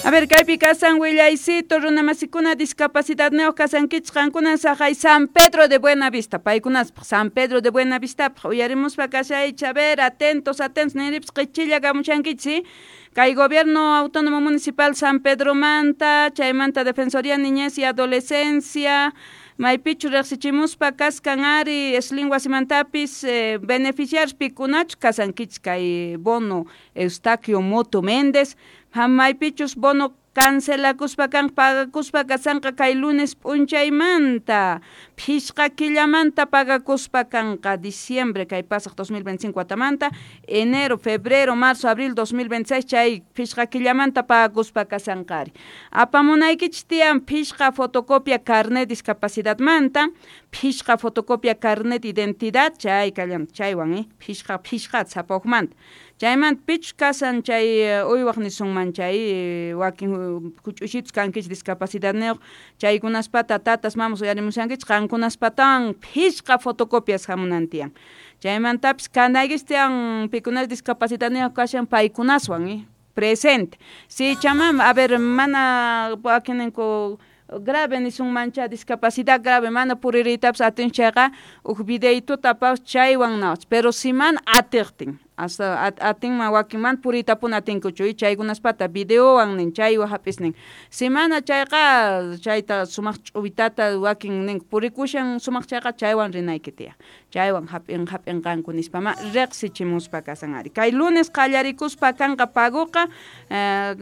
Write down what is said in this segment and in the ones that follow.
A ver, kaypi kasan willaycito runamasikuna discapacidadniyuq kasankichik qankuna saqay San Pedro de Buenavista paykunaspaq San Pedro de Buenavistapaq uyarimuspa kashaychik. A ver, atentos, atentos, ninripas qichilla kamushankichik. Kay Gobierno Autónomo Municipal San Pedromanta, chaymanta Defensoría Niñez y Adolescencia, maypichu riqsichimuspa kaskan ari Slim wasimantapis beneficiarios pikunachu kasankichik kay bono Eustaquio Moto Méndez, maypichus bono cancelakuspa kan pagakuspa kasanqa kay lunes p'unchaymanta phishqa killamanta pagakuspa kanqa diciembre kay pasaq 2025 watamanta, enero, febrero, marzo, abril 2026 chay phishqa killamanta pagakuspa kasanqari. Apamunaykichik tiyan phishqa fotocopia carnet discapacidadmanta, phishqa fotocopia carnet identidad chay kallam chaywan phishqa phishqa sapaqmanta. Chaymanta pichus kasan chay uywaq nisunman chay wakin huch'uysitus kankichik discapacidadniyuq chaykunaspata tatas mamas uyarimushankichik qankunaspatawan phishqa fotocopias hamunan tiyan. Chaymantapis kanaykichik tiyan pikunas discapacidadniyuq kashan paykunaswan presente. Si chamam, a ver, mana wakininku grave nisunmancha discapacidad grave mana puririytapas atin chayqa huk videituta apawas chaywan nawach, pero si mana atiqtin hasta atinman wakinman puriytapuni atinkuchu chaykunaspata videowan nin chaywan hap'isnin. Si mana chayqa chayta sumaq ch'uwitata wakin ninku purikushan sumaq chayqa chaywan rinayki tiyan chaywan hap'inqanku nispama riqsichimuspa kasan ari. Kay lunes qallarikuspa kanqa paguqa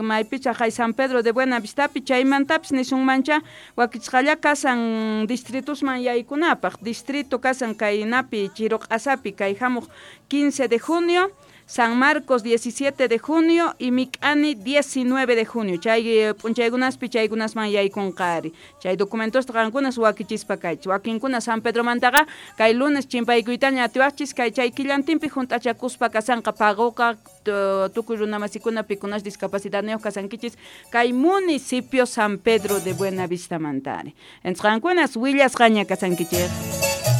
maypicha hay San Pedro de Buenavistapi chaymantapis nisunmancha wakichisqalla kasan distritusman yaykunapaq distrito kasan kaynapi Chiruq'asapi kay hamuq 15 de junio, San Marcos 17 de junio y Micani 19 de junio. Chay p'unchaykunaspi chaykunasman yaykunqari. Chay documentosta qankunas wakichispa kaychik. Wakinkuna San Pedromantaqa kay lunes chimpaykuytaña atiwaqchis kay chay killantinpi hunt'achakuspa kasanqa paguqa tukuy runamasikuna pikunas discapacidadniyuq kasankichis kay municipio San Pedro de Buenavistamantari. Entonces qankunas willasqaña kasankichik.